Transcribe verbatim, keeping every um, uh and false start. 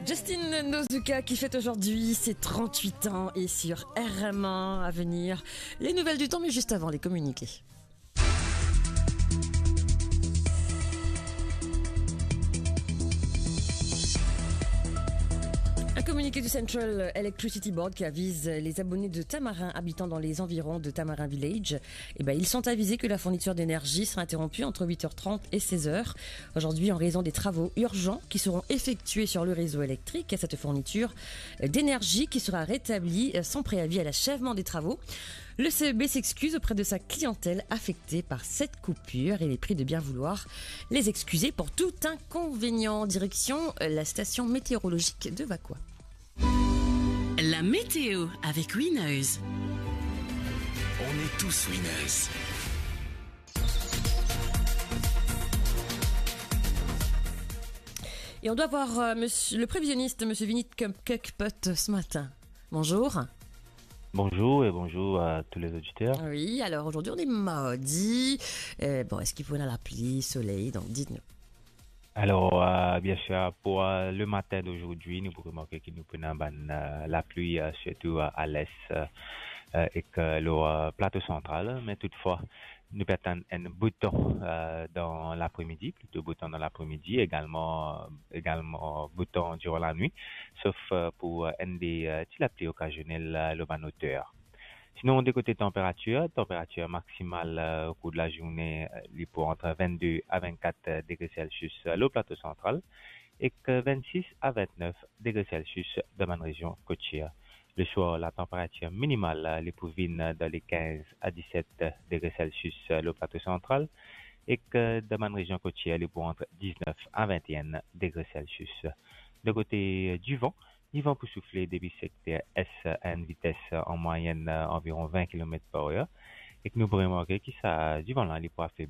Justin Nozuka qui fête aujourd'hui ses trente-huit ans et sur R M un à venir, les nouvelles du temps, mais juste avant, les communiqués. Un communiqué du Central Electricity Board qui avise les abonnés de Tamarin habitant dans les environs de Tamarin Village. Eh ben, ils sont avisés que la fourniture d'énergie sera interrompue entre huit heures trente et seize heures aujourd'hui en raison des travaux urgents qui seront effectués sur le réseau électrique. Cette fourniture d'énergie qui sera rétablie sans préavis à l'achèvement des travaux. Le C E B s'excuse auprès de sa clientèle affectée par cette coupure et les prie de bien vouloir les excuser pour tout inconvénient. Direction la station météorologique de Vacoas. La météo avec Winners. On est tous winners. Et on doit voir euh, monsieur, le prévisionniste, monsieur Vinit Kekpot, ce matin. Bonjour. Bonjour et bonjour à tous les auditeurs. Oui, alors aujourd'hui on est mardi. Euh, bon, est-ce qu'il faut la pluie, soleil ? Donc dites-nous. Alors, euh, bien sûr, pour euh, le matin d'aujourd'hui, nou pou remarke ki nou pou ena bann euh, lapli, euh, sirtou euh, a l'est euh, euh, ek euh, lor euh, plato santral. Me toutfwa, nou pe atann enn bout tan euh, dan lapre-midi, plito bout tan dan lapre-midi, egalman, euh, egalman bout tan diran lanwit, sof euh, pou euh, enn de euh, ti lapli okazionel euh, lor bann oter. Sinon, de kote tanperatir, tanperatir maksimal euh, okour de lazourne, euh, li pou ant vennde a vennkat degre Celsius euh, lor plato santral, ek euh, vennsis a vennef degre Celsius dan bann rezion kotier. Le soir, la tanperatir minimal euh, li pou vinn euh, dan le kinz a diset degre Celsius euh, lor plato santral, ek euh, dan bann rezion kotier, li pou ant diznef a vennenn degre Celsius. De kote euh, divan, divan pou soufle depi sekter es a enn vites an mwayenn anviron vin kilomet par er, ek nou pou remarke ki sa divan la li pou afebli